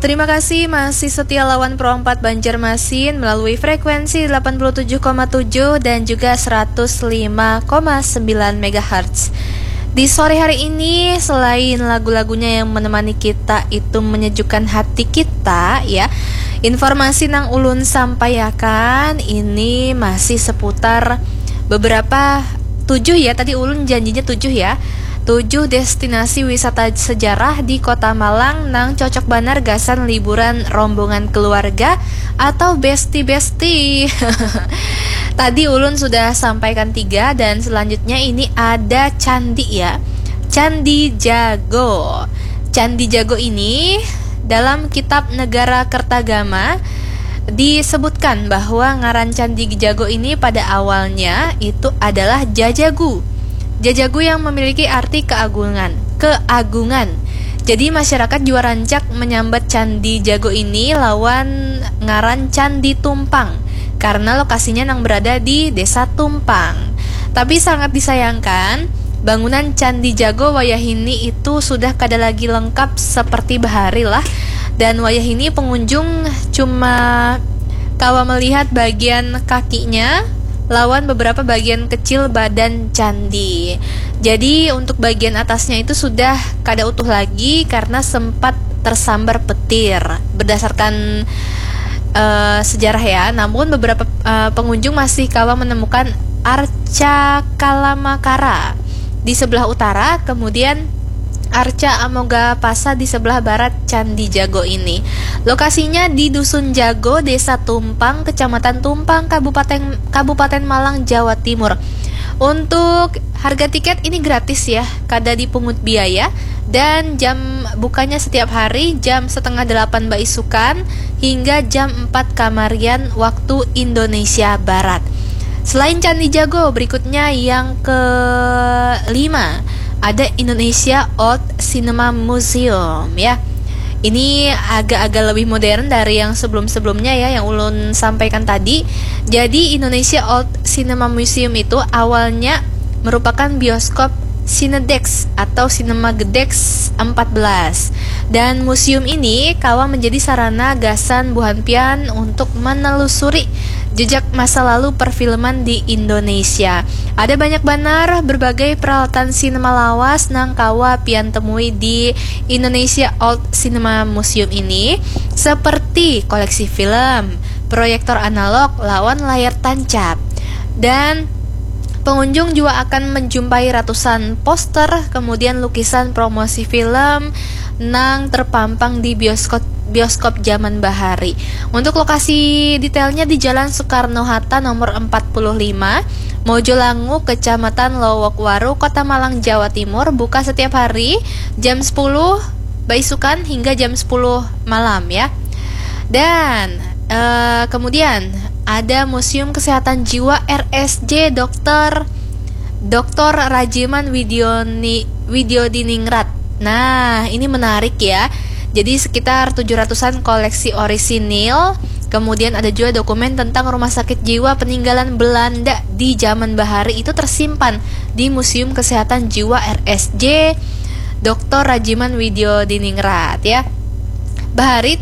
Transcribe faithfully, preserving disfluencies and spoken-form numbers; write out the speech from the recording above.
Terima kasih masih setia lawan Pro empat Banjarmasin melalui frekuensi delapan puluh tujuh koma tujuh dan juga seratus lima koma sembilan megahertz. Di sore hari ini, selain lagu-lagunya yang menemani kita itu menyejukkan hati kita, ya, informasi nang ulun sampaiakan ini masih seputar beberapa tujuh, ya, tadi ulun janjinya tujuh, ya. Tujuh destinasi wisata sejarah di Kota Malang nang cocok banar gasan liburan rombongan keluarga atau besti-besti. Tadi ulun sudah sampaikan tiga, dan selanjutnya ini ada candi, ya. Candi Jago. Candi Jago ini dalam kitab Negara Kertagama disebutkan bahwa ngaran Candi Jago ini pada awalnya itu adalah jajagu. Jajagu yang memiliki arti keagungan, keagungan. Jadi masyarakat jua rancak menyambat Candi Jago ini lawan ngaran Candi Tumpang karena lokasinya nang berada di Desa Tumpang. Tapi sangat disayangkan, bangunan Candi Jago wayahini itu sudah kada lagi lengkap seperti bahari lah. Dan wayahini pengunjung cuma kawa melihat bagian kakinya lawan beberapa bagian kecil badan candi. Jadi untuk bagian atasnya itu sudah kada utuh lagi karena sempat tersambar petir. Berdasarkan eh, sejarah, ya, namun beberapa eh, pengunjung masih kawa menemukan Arca Kalamakara di sebelah utara, kemudian Arca Amogapasa di sebelah barat Candi Jago ini. Lokasinya di Dusun Jago, Desa Tumpang, Kecamatan Tumpang, Kabupaten Kabupaten Malang, Jawa Timur. Untuk harga tiket ini gratis, ya, kada dipungut biaya, dan jam bukanya setiap hari jam setengah delapan baisukan hingga jam empat kamarian waktu Indonesia Barat. Selain Candi Jago, berikutnya yang kelima, ada Indonesia Old Cinema Museum, ya. Ini agak-agak lebih modern dari yang sebelum-sebelumnya, ya, yang ulun sampaikan tadi. Jadi Indonesia Old Cinema Museum itu awalnya merupakan bioskop Cinedex atau Cinema Gedex empat belas. Dan museum ini kawa menjadi sarana gasan buhan pian untuk menelusuri jejak masa lalu perfilman di Indonesia. Ada banyak banar berbagai peralatan sinema lawas nang kawa pian temui di Indonesia Old Cinema Museum ini, seperti koleksi film, proyektor analog, lawan layar tancap. Dan pengunjung juga akan menjumpai ratusan poster, kemudian lukisan promosi film nang terpampang di bioskop bioskop zaman bahari. Untuk lokasi detailnya di Jalan Soekarno Hatta nomor empat puluh lima, Mojolangu, Kecamatan Lowokwaru, Kota Malang, Jawa Timur, buka setiap hari jam sepuluh baisukan hingga jam sepuluh malam, ya. Dan eh, kemudian ada Museum Kesehatan Jiwa R S J Dokter Doktor Rajiman Widioni, Widiodiningrat. Nah, ini menarik, ya. Jadi sekitar tujuh ratusan koleksi orisinil. Kemudian ada juga dokumen tentang rumah sakit jiwa peninggalan Belanda di zaman bahari itu tersimpan di Museum Kesehatan Jiwa R S J Doktor Rajiman Widiodiningrat, ya. Bahari